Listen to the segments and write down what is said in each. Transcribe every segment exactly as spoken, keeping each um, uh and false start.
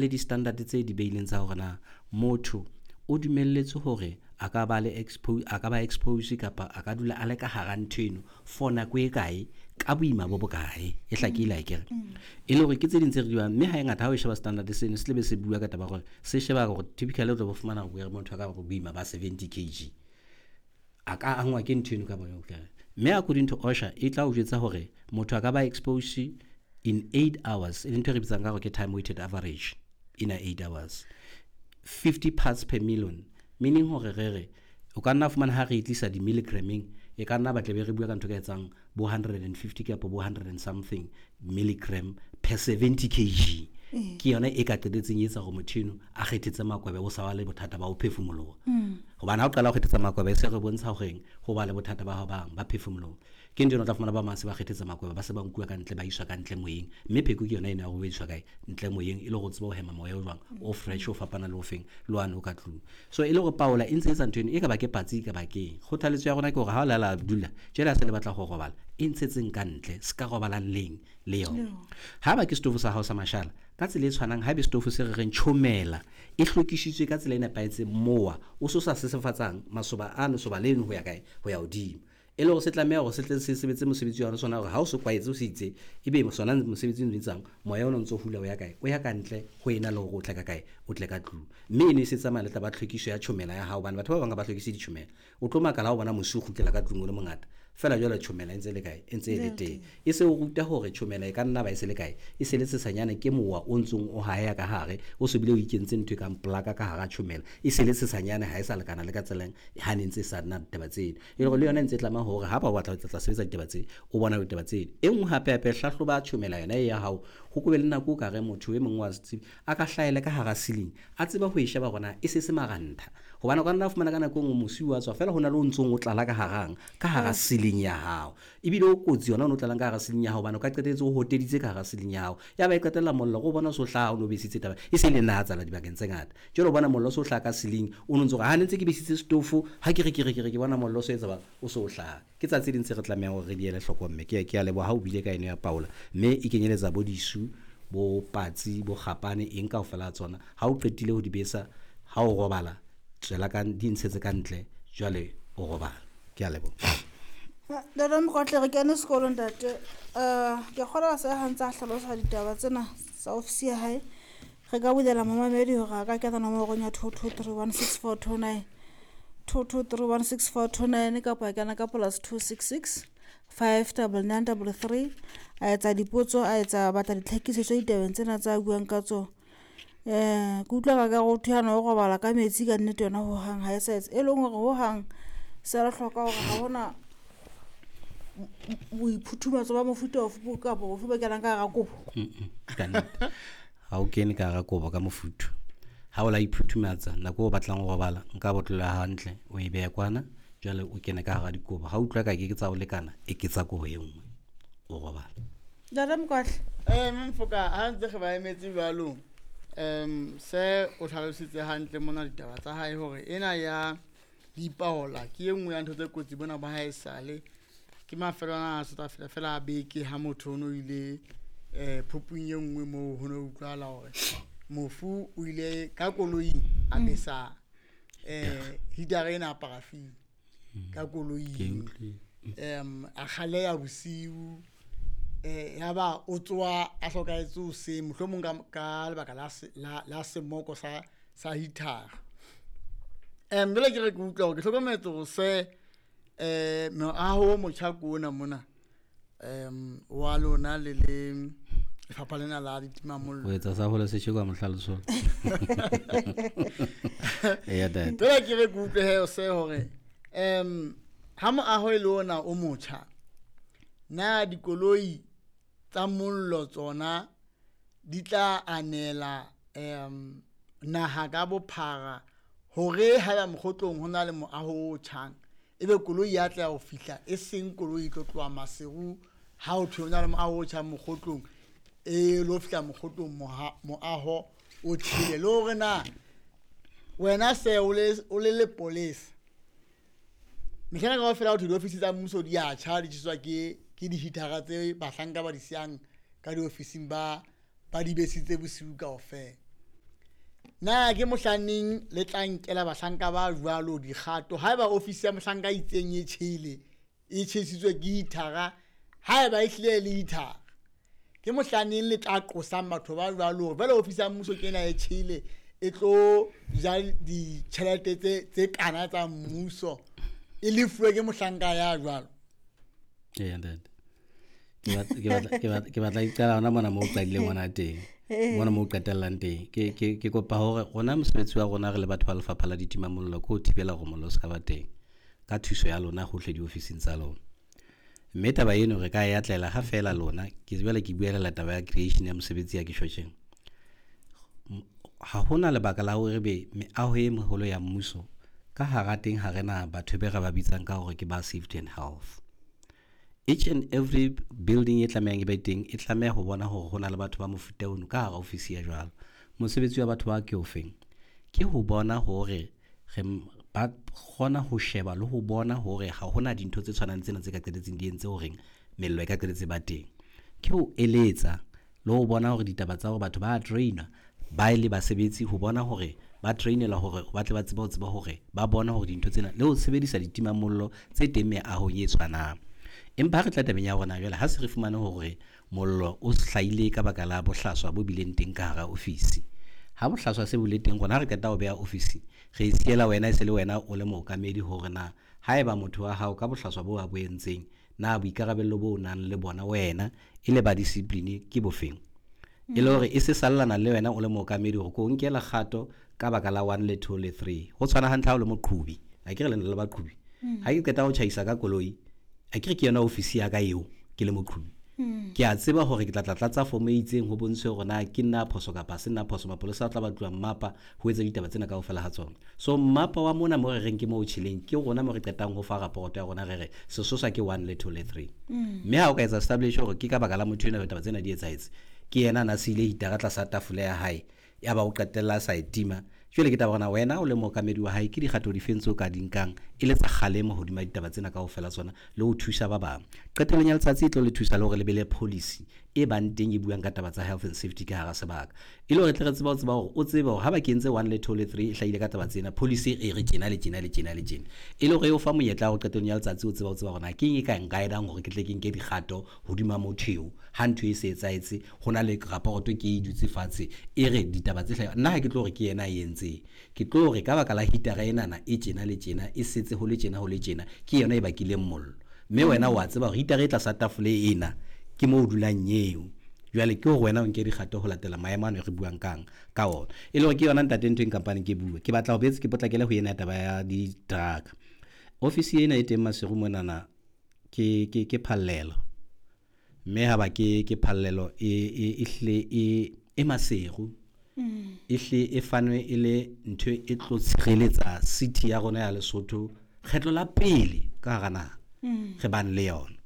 Le di-standard tse di beileng tsa hore na motho o dumelletswe hore a ka ba le expo a ka ba expose kapa a ka dula a le ka hara ntho eno for nako e kae, ka boima bo bokae. E hlakile akere? E le hore ke tse ding tse re di bang, mme ha e ngata ha o sheba standard seno se tlebe se bua ka taba ya hore se sheba hore typically o tlo bo fumana hore motho a ka ba boima ba seventy kg a ka angwa ke ntho eno ka bo mme according to OSHA e tla o jwetsa hore motho a ka ba expose in eight hours, e leng ntho e re bitsang ka hore ke time weighted average in a eight hours, fifty parts per million, meaning hore re re o ka nna fumana ha re e tlisa di-milligramming e ka nna ba tle be re bua ka ntho e ka etsang bo hundred and fifty kapa bo hundred and something milligram per seventy kg. Ke yona e ka qetetseng e etsa hore motho eno a kgethetse makwebe, o sa ba le bothata ba ho phefumoloha. Hobane ha o qala ho kgethetsa makwebe, se re bontsha horeng ho ba le bothata ba hao bang ba phefumoloho. Ke ntho eno o tla fumana ba bang se ba kgethetse makwebe, ba se ba nkuwa ka ntle, ba iswa ka ntle moyeng, mme pheko ke yona ena ya hore o iswa kae ntle moyeng, e le hore o tsebe ho hema moya o jwang o fresh, o fapana le o feng le one o ka tlung. So e le hore paola e ntse etsa ntho eno, e ka ba ke patsi, e ka ba keng. Kgothaletso ya rona ke hore ha o lala dula jwale ha se le batla ho robala, e ntshetseng ka ntle, se ka robalang leng le yona. Ha ba ke setofo sa hao sa mashala, ka tsela e tshwanang haebe setofo se re reng tjhomela e hlwekisitswe ka tsela e nepahetseng, mowa o so sa sesefatsang masoba ano soba leno ho ya kae, ho ya hodimo, e le hore se tlameha hore se tle se sebetse mosebetsi wa sona, hore ha o se kwaetse o se itse, ebe sona mosebetsi o etsang moya ona o ntso hula o ya kae, o ya ka ntle ho ena le hore o tle ka kae, o tle ka tlung. Mme e ne se tsamaya le taba ya tlhwekiso ya tjhomela ya hao, hobane batho ba bang ha ba hlwekise ditjhomela, o tlo makala ha o bona mosi o kgutlela ka tlung o le mongata fela, jwale tjhomela e ntse le kae, e ntse e le teng. E se o ruta hore tjhomela e ka nna ba e se le kae, e se le sesanyane, ke mowa o ntsong o haya ka hare, o se bile o ikentse ntho e kang plaka ka hara tjhomela, e se le sesanyane, ha e sa lekana le ka tseleng ha ne ntse e sa nna ditaba tseno. E le hore le yona e ntse e tlameha hore ha ba o batla ho tla sebetsa ditaba tse, o bona ditaba tseno. E nngwe hape hape, hlahloba tjhomela yona e ya hao, ho ko be le nako o ka re motho e mong wa setsebi a ka hlahela ka hara ceiling, a tseba ho e sheba hore na e se se marantha, hobane o ka nna fumana ka nako e nngwe mosi wa tswa fela, ho na le o ntsong o tlala ka harang ka hara ceiling ya hao, ebile o kotsi yona o no tlalang ka hara ceiling ya hao, hobane o ka qetelletse o hoteditse ka hara ceiling ya hao, ya ba e qetella mollo o bona o so hlaha, o no besitse taba e se le nna tsala dibakeng tse ngata. Jwale o bona mollo o so hlaha ka ceiling, o no ntso re ha ne ntse ke besitse setofo, ha ke re ke re ke re ke bona mollo o so etsa ba o so hlaha. Ke tsa tse ding tse re tlamehang hore re di ele hloko, mme ke ke a leboha ha o buile ka eno ya paola, mme e kenyeletsa bo disu, bo patsi, bo kgapane, eng kaofela ha tsona. Ha o qetile ho di besa, ha o robala tswela ka di ntshetse ka ntle, jwale o robala. Ke a leboha. Ntate Mokwatle, re kene sekolo ntate. Uh, ke kgolwa se ha ntse a hlalosa ditaba tsena tsa ofisi ya hae, re ka bulela momamedi hore a ka kena nomorong ya two two three one six four two nine, two two three one six four two nine, kapa a kena ka plus two six six five double nine double three, a etsa dipotso, a etsa batla ditlhakisetso ditabeng tsena tsa buang ka tsona. Eh, ke utlwa ka ka ho thwe hana o robala ka metsi ka nnete yona hohang ha e sa etsa, e leng hore hohang se re hloka hore ha hona boiphuthumatso ba mofuta ofe kapa ofe bo kenang ka hara kobo. Ka nnete ha o kene ka hara kobo ka mofuthu, ha o la iphuthumatsa nako o batlang ho robala, nka botlolo ya hantle o e behe kwana, jwale o kene ka hara dikobo. Ha o utlwa ka ke ke tsa ho lekana, e ke tsa kobo e nngwe o robala. Ntate Mokwatle. Eh, Mfoka, ha ntse re ba emetse jwalo, um se o hlalositse hantle mona ditaba tsa hae hore ena ya dipaola ke e nngwe ya ntho tse kotsi bona ba hae sale. Ke mafelo ana a sa fela fela a beke ha motho o no ile, eh, phupung e nngwe moo ho no utlwahala hore mofu o ile ka koloing a besa, eh, heater ena ya paraffin ka koloing. Em, a kgaleha bosiu, eh, ya ba o tsoha a hlokahetse hoseng, mohlomong ka, ka lebaka la se, la, la semoko sa, sa heater. Em, jwale ke re ke utlwa hore ke hlokometse hore se, eh, moaho o motjha ke ona mona, em, wa lona le le lefapha lena la ditimamollo. O etsa sa hole se tjhe kwa mohlaloso. Eya, ntate. Jwale ke re ke utlwe he se hore, em, ha moaho e le ona o motjha, na dikoloi tsa mollo tsona di tla anela, em, naha ka bophara hore haeba mokgotlong ho na le moaho o tjhang, ebe koloi ya tla ho fihla, e seng koloi e tlo tloha Maseru ha ho thwe ho na le moaho o tjhang mokgotlong, e lo fihla mokgotlong moaho o tjhele. Le hore na wena se o le, o le lepolesa, mehleng kaofela ho thwe diofisi tsa mmuso di a tjha, di tjheswa ke, ke di-heatera tse bahlanka ba di siyang ka diofising ba, ba di besitse bosiu kaofela. Na ke mohlaneng le tla nkela bahlanka ba jwalo dikgato haeba ofisi ya mohlanka e itseng e tjhele e tjhesitswe ke heater-a, haeba e hlile e le heater-a, ke mohlaneng le tla qosang batho ba jwalo hore jwale ofisi ya mmuso ke ena e tjhele e tlo ja ditjhelete tse tse kana tsa mmuso e lefuwe ke mohlanka ya jwalo. Ee, ntate. Ke batla ke batla ke batla ke batla iqala hona mona moo o qadileng hona teng. Mona moo o qetellang teng. Ke ke ke kopa hore rona mosebetsi wa rona re le batho ba lefapha la ditimamollo ke ho thibela hore mollo o ska ba teng ka thuso ya lona hohle diofising tsa lona. Mme taba eno re ka e atlela ha feela lona ke jwale ke buelela taba ya creation ya mosebetsi ya ke tjho tjena. Ha hona lebaka la hore be meaho e meholo ya mmuso ka hara teng ha rena batho be re ba bitsang ka hore ke ba safety and health. Each and every building e tlamehang e be teng e tlameha ho bona hore hona le batho ba mofuta ono ka hara ofisi ya jwalo. Mosebetsi wa batho ba ke ofeng? Ke ho bona hore re ba kgona ho sheba le ho bona hore ha hona dintho tse tshwanang tsena tse ka qetelletseng di entse horeng mello e ka qetelletse ba teng. Ke ho eletsa le ho bona hore ditaba tsa hore batho ba train-a ba e le basebetsi ho bona hore ba train-elwa hore ba tle ba tsebe ho tseba hore ba bona hore dintho tsena le ho sebedisa ditimamollo tse teng meahong e tshwanang. Empa ha re tla tabeng ya rona jwale ha se re fumane hore mollo o hlahile ka baka la bohlaswa bo bileng teng ka hara ofisi. Ha bohlaswa se bile teng rona ha re qeta ho beha ofisi re e siela wena e se le wena o le mookamedi hore na haeba motho wa hao ka bohlaswa bo a bo entseng na boikarabello bo o nang le bona wena e le ba discipline ke bofeng. E le hore e se sallana le wena o le mookamedi hore ko nkela kgato ka baka la one le two le three. Ho tshwana hantle ha o le moqhobi, akere le na le baqhobi. Ha ke qeta ho tjhaisa ka koloi, akere ke yona ofisi ya ka eo ke le moqhobi. Ke a tseba hore ke tla tla tlatsa form e itseng ho bontshe hore na ke nna phoso kapa se nna phoso. Mapolesa a tla batluwa mmapa ho etsa ditaba tsena kaofela ha tsona. So mmapa wa mona mo re reng ke mo o tjheleng ke rona mo re qetang ho fa report ya rona re re sesosa ke one le two le three. Mme ha o ka etsa establish hore ke ka baka la motho enwa ditaba tsena di etsahetse, ke yena a na siile heater-a tlasa tafole ya hae ya ba o qetella a sa e tima. Jwale ke taba hore na wena o le mookamedi wa hae ke dikgato difeng tseo ka di nkang e le tsa kgalemo hodima ditaba tsena kaofela tsona le ho thusa ba bang. Qetellong ya letsatsi e tlo le thusa le hore le be le policy e bang teng e buang ka taba tsa health and safety ka hara sebaka. E le hore tle re tsebe ho tseba hore o tsebe hore ha ba kentse one le two le three e hlahile ka taba tsena policy e re tjena le tjena le tjena le tjena. E le hore e o fa monyetla wa hore qetellong ya letsatsi o tseba ho tseba hore na ke eng e ka nkaedang hore ke tle ke nke dikgato hodima motho eo ha ntho e se etsahetse ho na le raporoto ke e dutse fatshe e re ditaba tse hlaha. Nna ha ke tlo hore ke yena a entseng, ke tlo hore ka baka la heater-a enana e tjena le tjena e setse ho le tjena ho le tjena ke yona e bakileng mollo. Mme wena wa tseba hore heater-a e tlasa tafole ena ke moo o dulang eo. Jwale ke hore wena o nke dikgato ho latela maemo ano e re buang kang ka ona. E le hore ke yona ntate ntho e nkampaneng ke bue. Ke batla ho boetse ke potlakele ho ena taba ya di-truck. Ofisi ena e teng Maseru monana ke ke ke phallelo. Mme ha ba ke ke phallelo e e e hle e e Maseru. E hle e fanwe e le ntho e tlo tshireletsa city ya rona ya Lesotho kgetlo la pele ka hara naha re bang le yona.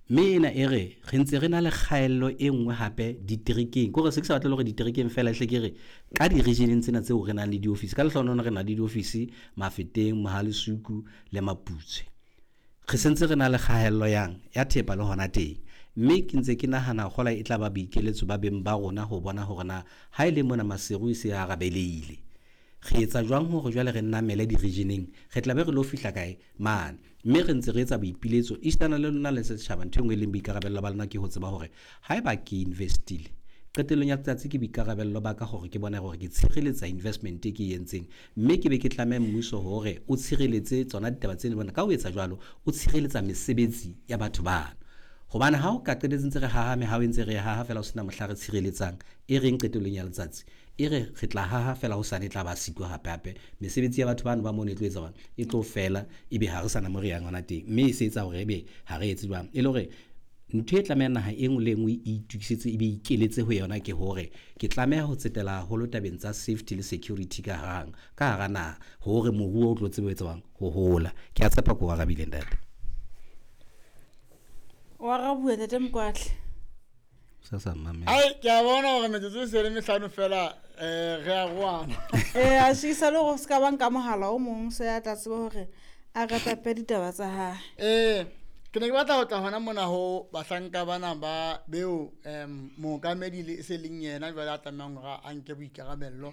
Mme ena e re re ntse re na le kgaello e nngwe hape diterekeng. Ke hore se ke sa batle hore diterekeng feela hle ke re ka di-region tsena tseo re nang le diofisi. Ka lehlohonolo re na le diofisi Mafeteng, Mohalesuku le Maputswe. Re sentse re na le kgaello yang ya thepa le hona teng. Mme ke ntse ke nahana kgola e tla ba boikeletso ba beng ba rona ho bona hore na ha e le mona Maseru e se arabeleile. Re etsa jwang hore jwale re namele di-regioneng, re tla be re lo fihla kae mane. Mme re ntse re etsa boipiletso esitana le lona le setjhaba. Ntho e nngwe e leng boikarabello ba lona ke ho tseba hore haeba ke investile qetellong ya letsatsi ke boikarabello ba ka hore ke bone hore ke tshireletsa investment e ke e entseng, mme ke be ke tlameha mmuso hore o tshireletse tsona ditaba tsena bona. Ka ho etsa jwalo o tshireletsa mesebetsi ya batho bana. Hobane ha o ka qetelletse ntse re haha mehaho e ntse re haha fela ho sena mohla re tshireletsang e reng qetellong ya letsatsi e re re tla haha fela hosane e tla ba siko hape hape mesebetsi ya batho bano ba mono e tlo etsa jwang, e tlo fela ebe ha re sana mo re yang hona teng. Mme e se etsa hore ebe ha re etse jwang. E le hore ntho e tlamehang naha e nngwe le e nngwe e itokisetse ebe e ikeletse ho yona ke hore ke tlameha ho tsetela haholo tabeng tsa safety le security ka harang ka hara naha hore moruo o tlo tsebe ho etsa jwang ho hola. Ke a tshepa ko arabile ntate. O arabuwe ntate Mokwatle. Sa sa mamela. Ai ke a bona hore metsotso e se le mehlano fela eh re a roana. Eh a shisa le go ska ba nka mohala o mong se a tla tseba hore a ratape ditaba tsa hae. Eh ke ne ke batla ho tla hona mona ho bahlanka bana ba beo em mookamedi le se leng yena jwale a tlamehang hore a nke boikarabello.